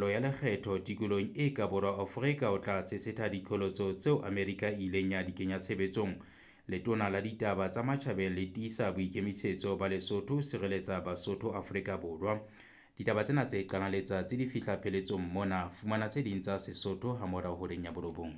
Pokello ya Lekgetho tikolohong e ka Borwa Afrika o tla tshetshetha diqholotso tseo Amerika e ileng ya di kenya tshebetsong. Letona la Ditaba tsa Matjhabeng le tiisa boikemisetso ba Lesotho ho sireletsa Basotho Afrika Borwa. Ditaba tsena tse qalang letsatsi di fihla pheletsong mona. Fumana tse ding tsa Sesotho hamorao horeng ya borobong.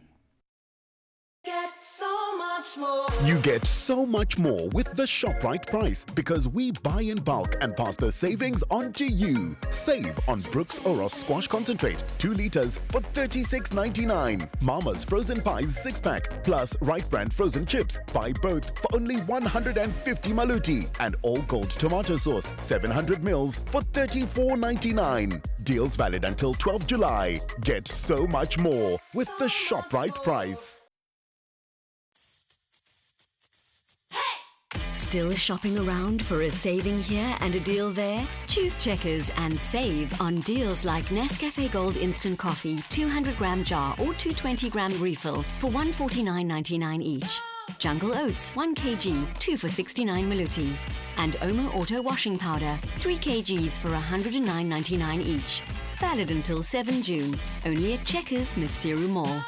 You get so much more with the ShopRite price because we buy in bulk and pass the savings on to you. Save on Brooks Oros Squash Concentrate, 2 liters for 36.99. Mama's Frozen Pies 6 pack plus Right Brand Frozen Chips. Buy both for only 150 maluti. And All Gold Tomato Sauce, 700 mils for 34.99. Deals valid until 12 July. Get so much more with the ShopRite price. Still shopping around for a saving here and a deal there? Choose Checkers and save on deals like Nescafe Gold Instant Coffee, 200 gram jar or 220 gram refill for 149.99 each. Jungle Oats 1 kg, 2 for 69 maluti. And Omo Auto Washing Powder, 3 kgs for 109.99 each. Valid until 7 June. Only at Checkers, Maseru Mall.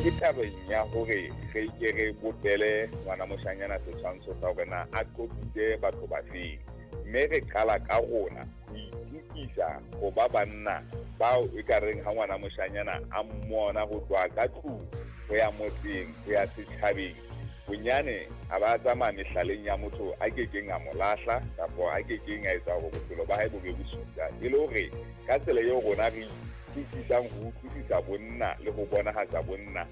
Ke tabeng ya hore re ke re bopele ngwana moshanyana setshwantsho sa hore na a qopitse batho ba feng, mme re qala ka rona ho itukisa ho ba banna bao e ka reng ha ngwana moshanyana a mmona ho tloha ka tlung ho ya motseng ho ya setjhabeng, bonyane a ba tsamaya mehlaleng ya motho a kekeng a mo lahla kapa a kekeng a etsa hore bophelo ba hae bo be bosula. E le hore ka tsela eo rona re utlwisisang ho utlwisisa bonna le ho bonahatsa bonna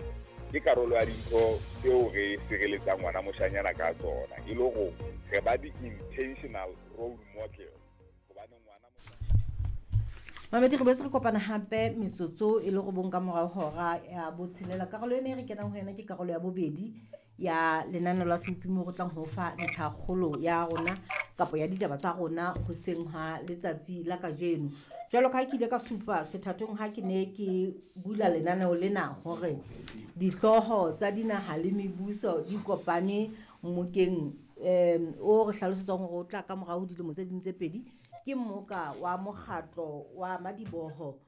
ke karolo ya dintho tseo re sireletsang ngwana moshanyana ka tsona, e le hore re ba di-intentional role model hobane ngwana Mamedi, re boetse re kopana hape metsotso e le 9 ka morao hora ya botshelela. Karolo ena e re kenang ho yona ke karolo ya bobedi ya lenaneo la Sebopi mo re tlang ho fa ntlhakgolo ya rona kapa ya ditaba tsa rona hoseng ha letsatsi la kajeno. Jwalo ka ha ke ile ka supa sethathong ha ke ne ke bula lenaneo lena hore dihlooho tsa dinaha le mebuso di kopane mmokeng o re hlalosetsang hore o tla ka morao ho dilemo tse ding tse pedi, ke mmoka wa mokgatlo wa madiboho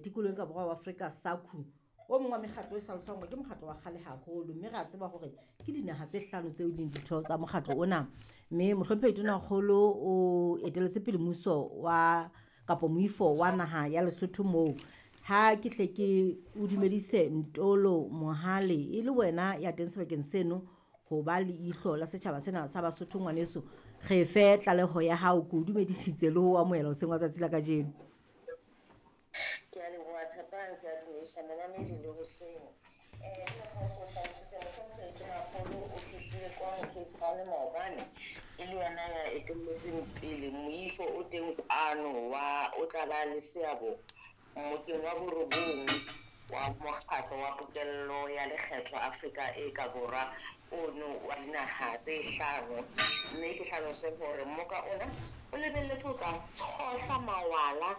tikolohong ka borwa wa Afrika SACU. O mong wa mekgatlo e hlalosang hore ke mokgatlo wa kgale haholo, mme re a tseba hore ke dinaha tse hlano tseo e leng ditho tsa mokgatlo ona. Mme mohlomphehi Tonakgolo o eteletse pele mmuso wa kapa moifo wa naha ya Lesotho moo. Ha ke hle ke o dumedise Ntolo Mohale, e le wena ya teng sebakeng seno ho ba leihlo la setjhaba sena sa Basotho. Ngwaneso, re fe tlaleho ya hao, ke o dumedisitse le ho amohela hoseng wa tsatsi la kajeno. Ke a leboha Tshepang, ke a dumedisa momamedi le hoseng. Mohlomphehi Tonakgolo o fihlile kwano Cape Town maobane, e le yena ya etelletseng pele moifo o teng kwano wa o tla ba le seabo mmokeng wa borobong wa mokgatlo wa pokello ya lekgetho Afrika e ka borwa ono wa dinaha tse hlano. Mme ke hlalose hore mmoka ona o lebelletse ho tla tshohla mawala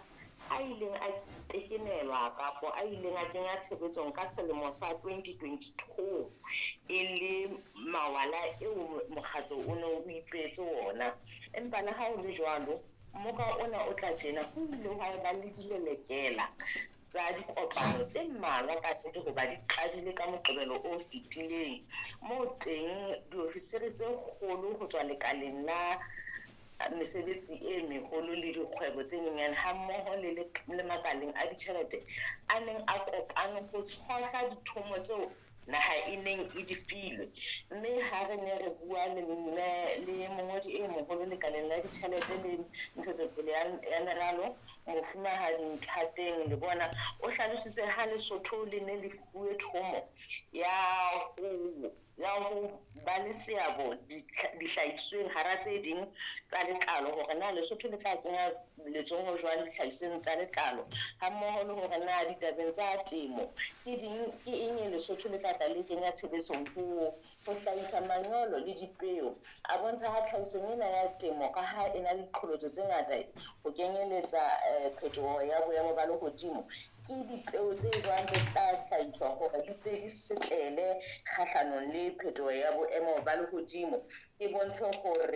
a ileng a tekenelwa kapo a ileng a kenya tshebetsong ka selemo sa 2022, e le mawala eo mokgatlo o ne o ipeetse ona. Empa le ha ho le jwalo, mmoka ona o tla tjena ho ile hwa ba le dilelekela tsa dikopano tse mmalwa ka nnete hoba di qadile ka Moqebelo o fetileng, moo teng diofisiri tse kgolo ho tswa lekaleng la mesebetsi e meholo le dikgwebo tse nyenyane hammoho le makaleng a ditjhelete a neng a kopane ho tshohla dithomo tseo naha e neng e di filwe. Mme ha re ne re bua le mongodi e moholo lekaleng la ditjhelete le ntshetsopele ya meralo, Mofumahadi Nthateng Lebona, o hlalositse ha Lesotho le ne le fuwe thomo ya ho ba le seabo dihlahisweng hara tse ding tsa letlalo, hore na Lesotho le tla kenya letsoho jwang dihlahisweng tsa letlalo, hammoho le hore na ditabeng tsa temo ke eng e Lesotho le tla tla le kenya tshebetsong ho hlahisa manyolo le dipeo. A bontsha ha tlhahisong ena ya temo ka ha e na le diqholotso tse ngata ho kenyeletsa phetoho ya boemo ba lehodimo, ke dipeo tse jwang tse tla hlahiswa hore di tse di setlele kgahlanong le phetoho ya boemo ba lehodimo. E bontshe hore